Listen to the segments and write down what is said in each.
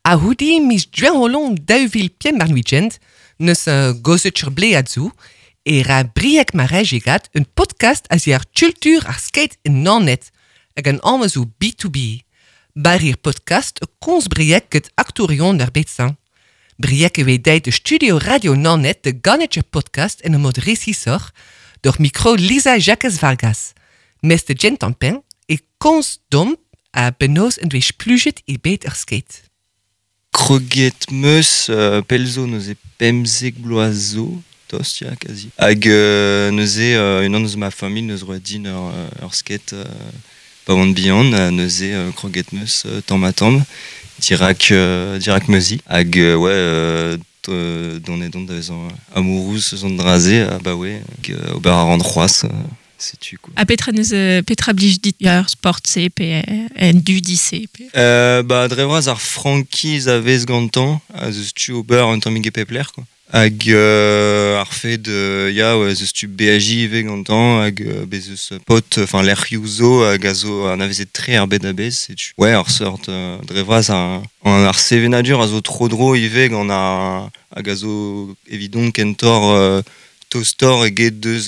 A-c'houde miz Gwengolo 2025 neus gozet ur blead zo e ra Brieg Marejegat un podcast a-ziàr kultur ar skate en Naoned hag an anv zo B2B. Bar ir podcast komz Brieg get aktourion ar bed-sañ. Brieg e oe deit de studio Radio Naoned de ganetjer podcast en un mod resisoc'h doc'h mikro Lisa Jakez Vargas. Mes de gent an pen e komz domp a benoz en doe splujet e bed ar skate. Kroget 'meus pell zo neuze 15 bloaz zo, tost ya kazi. Hag neuze unan eus ma familh neus roet din ur skate pa oan bihan ha neuze kroget 'meus tamm-ha-tamm dirak dirak ma zi. Hag ouais dont edon da vezañ amourouz eus an dra-se abaoe hag ober a ran c'hoazh. Setu quoi. Ha petra neus petra blij dit ur sport-se pe un dudi-se pe... Ba dre vras ar frankiz a vez gantañ a zeus tu ober un tammig e pep lec'h quoi. Hag ar fed ya ouais, zeus tu beajiñ ivez gantañ hag bez eus paotr enfin lec'hioù zo hag a zo anavezet tre ar bed a-bezh setu. Ouais ur seurt dre vras ar sevenadur a zo tro-dro ivez gant ar hag a zo evidon kentoc'h tostoc'h eget deus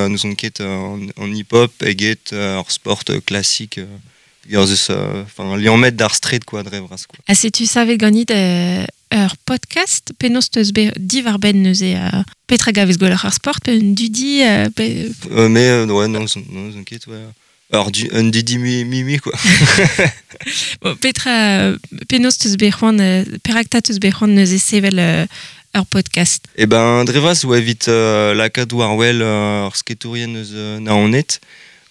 n'ouzon ket an hip-hop eget ur sport klasik eus enfin liammet d'ar straed quoi dre vras quoi. Ha setu savet ganit ur podcast penaos teus bet diwar-benn neuze petra gavez gwelloc'h ar sport pe un dudi pe... Mais ouais non n'ouzon ket ouais. Ur du, un dudi mui quoi. Bon, petra penaos teus bet c'hoant perak 'ta teus bet c'hoant neuze sevel ur podcast? Eh ben dre vras oa evit lakaat war-wel ur sketourien eus Naoned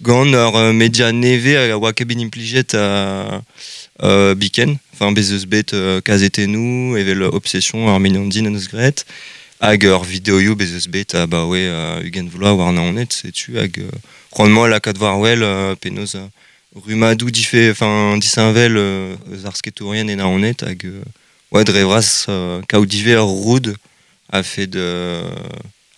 gant ur media nevez hag a oa ket bet implijet biken. Enfin bez eus bet kazetennoù evel Obsession ar mignon din en deus graet hag ur videoioù bez eus bet abaoe 20 vloaz war Naoned setu hag c'hoant 'moa lakaat war-wel penaos rummadoù dife enfin disheñvel eus ar sketourien e Naoned hag ouais dre vras kaout ivez ur roud a-fed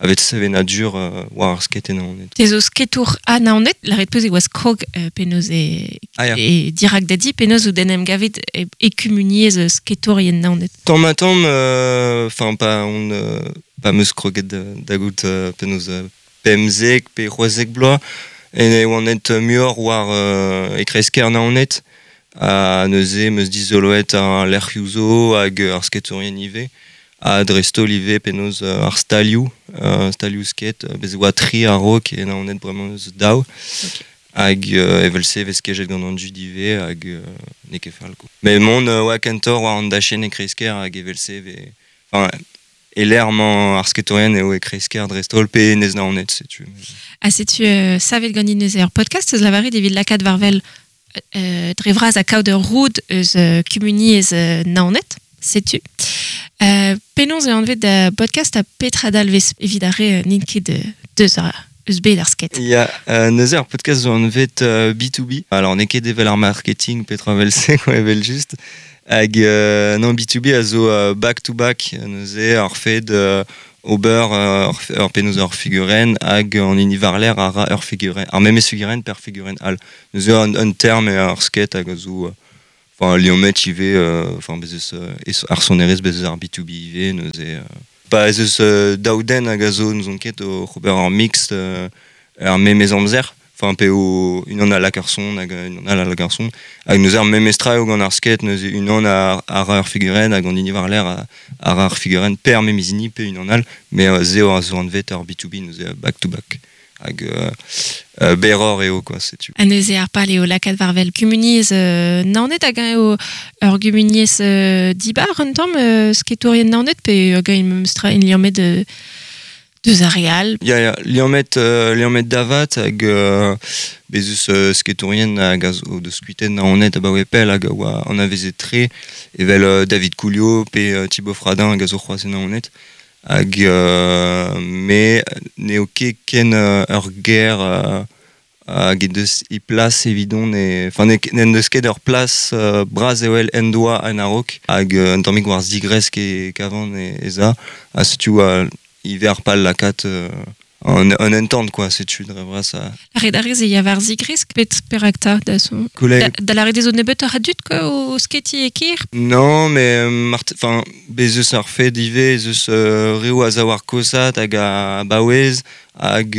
a-fet sevenadur war ar skate e Naoned. Te zo sketour a Naoned, lâret 'peus e oas krog penaos e, Ah ya. e dirak da di, penaos out en em gavet e kumuniezh sketourien Naoned? Tamm-ha-tamm, enfin pa on pa 'meus kroget da gaout penaos 15 pe 16 bloaz e oan aet muioc'h war e kreiz-kêr Naoned ha neuze 'meus dizoloet ar lec'hioù zo hag ar sketourien ivez ha dreist-holl ivez penaos ar stalioù, stalioù skate, bez' e oa tri a-raok e Naoned bremañ eus daou. Hag evel-se e vez kejet gant an dud ivez hag n'eo ket fall quoi. Met mont oa kentoc'h war an dachenn e kreiz-kêr hag evel-se e vez enfin e-lec'h emañ ar sketourien eo e kreiz-kêr dreist-holl pe enez Naoned setu. Ha setu savet ganin neuze ur podcast eus lavaret evit lakaat war-wel dre vras ha kaout ur roud eus kumuniezh Naoned, setu. Penaos eo anvet da podcast ha petra dalvez evit ar re n'int ket deus eus bed ar skate? Ya, neuze ar podcast zo anvet B2B. Alors n'eo ket evel ar marketing petra evel-se quoi evel-just. Hag non B2B a zo back to back neuze ar fed ober ur penaos ur figurenn hag an hini war-lerc'h a ra ur figurenn ar memes figurenn per figurenn all. Neuze un term eo ar skate hag a zo enfin liammet ivez enfin bez eus ar sonerezh bez eus ar B2B ivez neuze pa ez eus daou den hag a zo n'ouzon ket oc'h ober ur mix er memes amzer. Enfin p'eo unan a lak ur son hag unan all a lak ur son. Hag neuze ar memes tra eo gant ar skate, neuze unan a ra ur figurenn hag an hini war-lerc'h a ra ur figurenn pe ar memes hini pe unan all. Mais se eo a zo anvet ur B2B neuze back to back. Hag berroc'h eo quoi, setu. Ha neuze ar pal eo lakaat war-wel kumuniezh Naoned hag eñ eo ur gumuniezh dibar un tamm sketourien Naoned pe hag eñ memes tra liammet deus ar re all. Ya, ya, liammet, liammet da vat hag bez eus sketourien hag a zo deus kuitaet Naoned abaoe pell hag a oa anavezet tre evel David Coulliot pe Thibaut Fradin hag a zo c'hoazh e Naoned. Hag me n'eo ket ken ur ger hag he deus he plas evidon e enfin n'en deus ket ur plas bras evel en doa en a-raok hag un tammig war zigresk e kavan ez a ha setu ivez ar pal lakaat an entant quoi, setu dre vras a... Ar rez e ya war zigresk pet perak ta da son. Da la rede zo nebeut ar dud quoi, o sketi e kir? Non, mais enfin bez eus ar fed ivez, ez eus reo a zaou ar kosat hag a baouez hag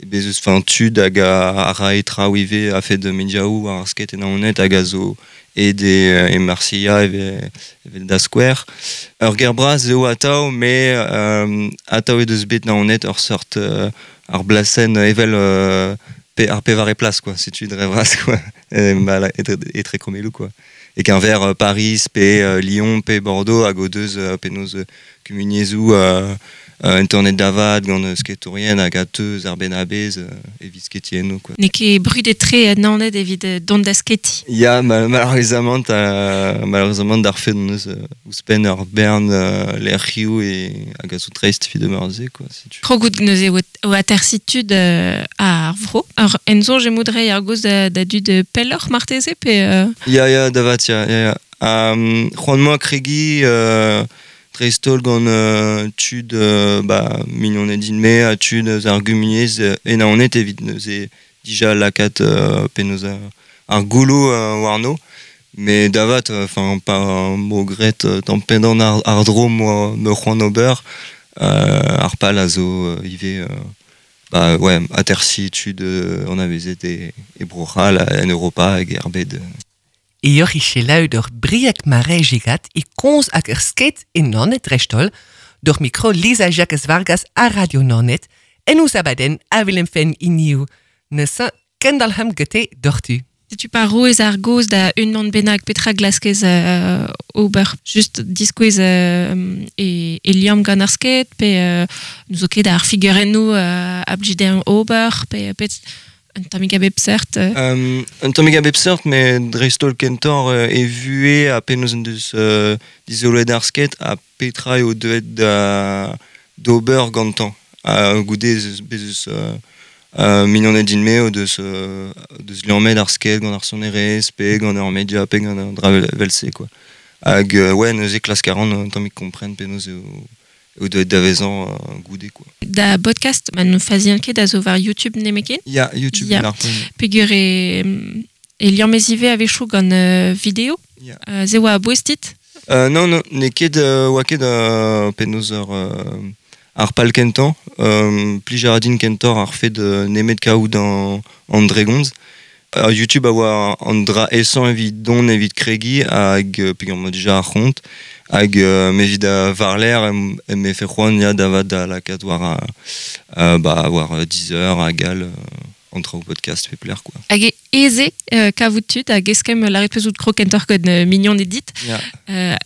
bez eus enfin tud hag a rae traoù ivez a fed mediaoù ar sket en aonet hag a zo ed e Marseilla evel da Square. Ur ger bras eo atao, me atao e deus bet naonet ur sort ar blasen evel ar pevare plas, quoi, setu dre vras, quoi, etre kromelou, quoi. E qu'un Paris, pe Lyon, pe Bordeaux, hag o deus penaos kumuniezou internet davad gant sketourien hag a teus ar ben abez evit sketi eno, quoi. N'eo ket brudet tre naoned evit dont da sketi. Ya, malheureusement, malheureusement d'ar fet neus ouzhpenn ur bern lec'hioù e hag a zo dreist evit meur-se, quoi. Krogout neuze o atersitud ar vro. Ar enzoñ emoudrei ar goz da dud pelloc'h marteze pe... Ya, ya, davat, ya, ya, ya. C'hoant moa kregi... dreistol gant tud ba, mignoned din-me ha tud eus ar gumuniezh e naonet evit neuze dija lakaat penaos ar gouloù warno. Mais davat, enfin, pa mo gret tamm pendan ar dro mo me c'hoant ober, ar pal a zo ivez ba, ouais, atersi tud an avezet e Bro-C'hall en Europa hag er bed. E ur ichelaü d'ur briek mare gigat e konz hag ur sket e Naoned dreistholl, d'ur mikro Lisa Jacques Vargas a Radio Naoned, en ouz abadenn a Willem Fenn iniou. Neuze kendalc'hem gete doc'htu. Setu pa roez ar goz da unan bennak petra glaskez ober just diskouez e liamm gant ar sket, pe nous zo ket ar figurennoù a blij ober, pe pet... Un tammig a bep seurt. Un tammig a bep seurt, mais dreistholl kentor e vue a penaos en deus dizoloet ar sket a petra eo deuet da d'ober gantañ. A goude bez eus mignoned din-me o deus liammet ar sket gant ar sonerezh, pe gant ar media, pe gant ar dra vel-se, quoi. Hag ouais, neuze klask a ran un tammig kompren penaos eo eo deuet da vezañ goude, quoi. Da podcast, ma no fazian ket a zo war YouTube nemeken? Ya, YouTube, ya. Peogwir e liammez ivez a-wechoù gant video? Ya. Ze oa a-bouez dit? Non, non, n'eo ket oa ket penaos ur ar pal kentañ, plij a ra din kentoc'h ar fed nemet kaout an dregomz. YouTube a oa an dra esañ evit don evit kregi hag peogwir ma dija ar c'hont hag me evit a varler em efe c'hoant ya davat da lakaat war ba war Deezer hag all an traoù podcast pe pler, quoi. Hag eze kavout tud hag eskemm lâret peus out krog kentoc'h gant mignon edit. Ya.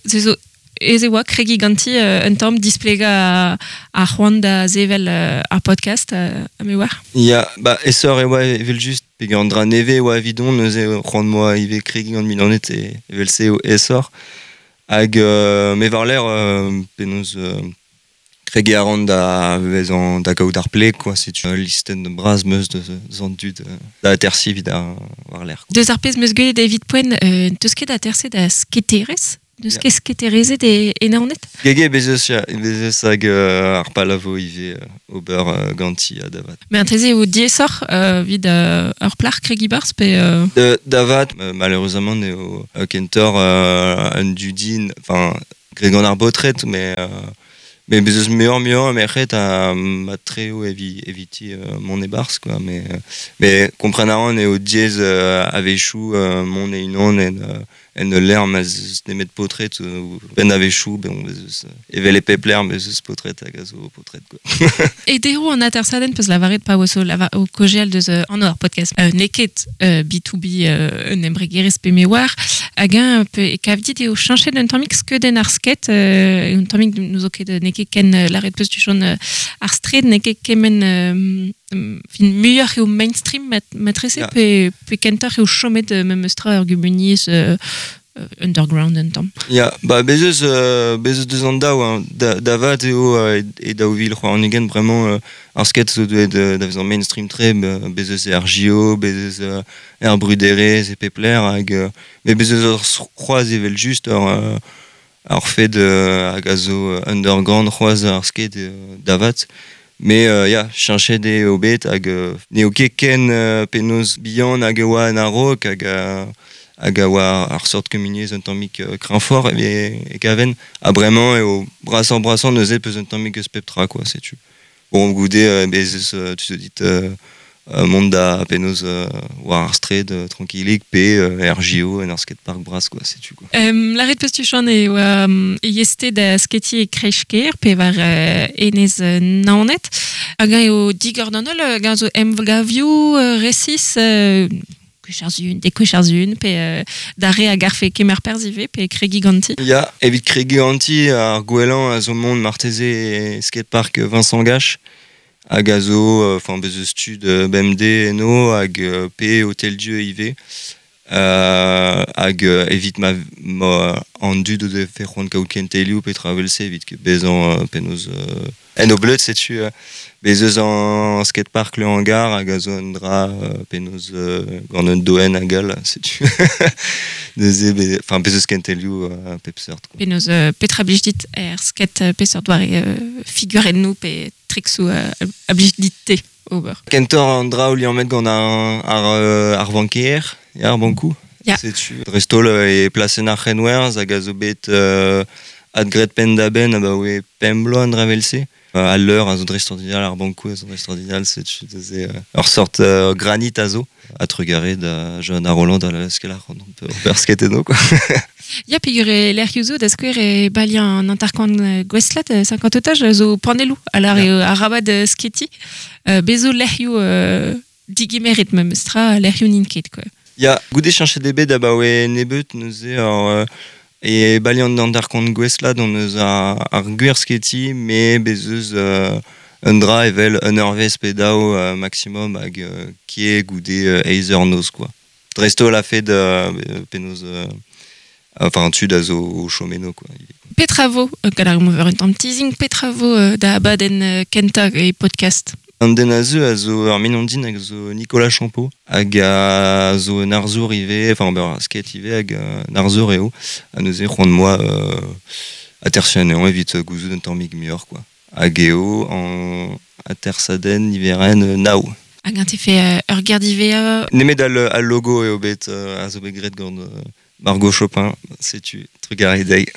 Se zo eze oa kregi ganti un tamm displegañ ar c'hoant da sevel ar podcast a me war. Ya, ba esor e oa evel just peogwir an dra nevez oa evidon, neuze c'hoant moa ivez kregi gant mignoned e evel se eo esor. Hag me war-lerc'h penaos kregi a ran da vezañ da gaout ar pleg, quoi, setu listenn bras meus deus an dud da atersi evit ar war-lerc'h. Deus ar pezh meus gwelet evit poent, teus ket aterse da sketerez? Deus ket sketerezet e Naoned? Gege, bez eus, ya, bez eus hag ar pal a vo ivez ober ganti ha davat. Mais an eo diaesoc'h evit ur plac'h kregi barzh pe... Davat, malheureusement eo kentoc'h un dudin, enfin, greg gant ar baotred, mais bez eus muioc'h muioc'h merc'hed a ma treo eviti mont e barzh, quoi, mais kompren a ran eo diaes a-wechoù mont e-unan en ul lec'h ma zeus nemet paotred ben a-wechoù, ben bez eus evel e pep lec'h bez eus paotred hag a zo paotred, quoi. E deroù an atersadenn peus lavaret pa oa zo o kojeal deus an ar podcast. N'eo ket B2B un embregerezh pe me war, hag eñ pe e kav dit eo cheñchet un tammig skeudenn ar sket, un tammig nous zo ket n'eo ket ken lâret peus du chon ar straed n'eo ket kement fin muioc'h eo mainstream matrese Ya. pe kentoc'h eo chomet memes tra ur gumuniezh underground un tamm. Ya, ba bez eus deus an daou, hein. Davat eo e daou vil c'hoar an ugent, vraiment ar sket zo deuet da vezañ mainstream tre, bez eus er JO, bez eus er bruderezh e pep lec'h, hag mais bez eus ur c'hoazh evel just ur fed hag a zo underground c'hoazh ar sket davat. Me ya, cheñchet eo bet hag n'eo ket ken penaos bihan hag e oa en a-raok hag a oa ar seurt kumuniezh un tammig kreñvoc'h e kaven. Ha bremañ eo brasoc'h-brasañ neuze peus un tammig eus pep tra quoi, setu. Bon, goude bez eus tu zo dit mont da penaos war ar straed trankilik pe er JO en ur skatepark bras quoi, setu quoi. Lâret peus tu Chann e oa e yeste da sketiñ e kreiz-kêr pe war enez Naoned. Hag eñ eo digor d'an holl, hag eñ zo emgavioù resis gwech ar sun, dek gwech ar sun, pe d'ar re a garfe kemer perzh ivez, pe kregiñ ganti. Ya, evit kregiñ ganti, ar gwellañ a zo mont marteze e skatepark Vincent Gache. Hag a zo, enfin, bez eus tud bemdez eno hag pe Hotel Dieu ivez. Hag evit ma, ma an dud o defe c'hoant kaout kentelioù petra evel-se evit bezañ penaos en o bleud setu bez eus an skatepark Le Hangar hag a zo un dra penaos gant un doenn hag all setu neuze enfin bez eus kentelioù a pep seurt quoi. Penaos petra blij dit er skate peseurt doare figurennoù pe triksoù a blij dit-te ober? Kentoc'h an dra o liammet gant ar vanker, ya, ar bankoù. Ya. Setu dreist-holl e plasenn ar c'henwerzh hag a zo bet adgraet penn-da-benn abaoe pemp bloaz an dra evel-se. Al leur a zo dreistordinal, ar bankoù a zo dreistordinal, setu neuze ur sort granit a zo. Ha trugarez da Johanna Rolland da leuskel ac'hanomp ober skate eno quoi. Ya, peogwir e lec'hioù zo, da skouer e baliañ an hanter-kant gouestlet, 50 otaj, zo panelloù a lâr eo arabat sketiñ. Bez zo lec'hioù digemeret memes tra, lec'hioù n'int ket quoi. Ya, goude cheñchet eo bet abaoe nebeut neuze ur e baliañ an hanter-kant gouestlat hon eus ar gwir sketiñ, met bez eus un dra evel un eurvezh pe daou maximum hag ket goude eizh eur noz quoi. Dreist-holl a-fed penaos enfin tud a zo o chom eno quoi. Petra vo, gant ar mover un tamm teasing, petra vo da abadenn kentañ e podcast? An den a zeu a zo ur mignon din hag a zo Nicolas Champeau hag a zo un arzour ivez, enfin ober ar skate ivez hag un arzour eo. Ha neuze c'hoant moa atersiñ anezhañ evit gouzout un tammig muioc'h quoi. Hag eo an atersadenn niverenn nav. Hag eñ te fait ur ger diwezhañ? Nemet al logo eo bet a zo bet graet gant Margot Chopin, setu trugarez dezhi.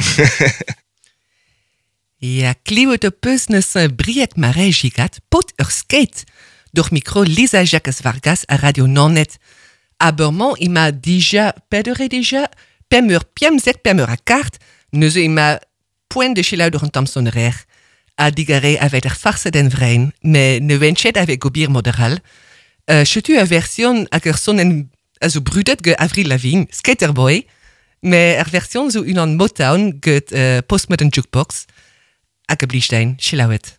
Ya, klevet ho peus neus Brieg Marais Gigat, paotr ur skate, doc'h mikro Lisa Jakez Vargas a Radio Naoned. Aber-mañ ema dija, pet eur eo dija? Pemp eur pemzek, pemp eur ha kart, neuze ema poent da selaou doc'h an tamm sonerezh. Ha digarez aveit ar farsadenn vrein, met ne oan ket aveit gobir mod arall. Setu ur version hag ur sonenn a zo brudet gant Avril Lavigne, Skater Boy, met ar version zo unan Motown get Postmodern Jukebox. Hag a blij din, selaouet.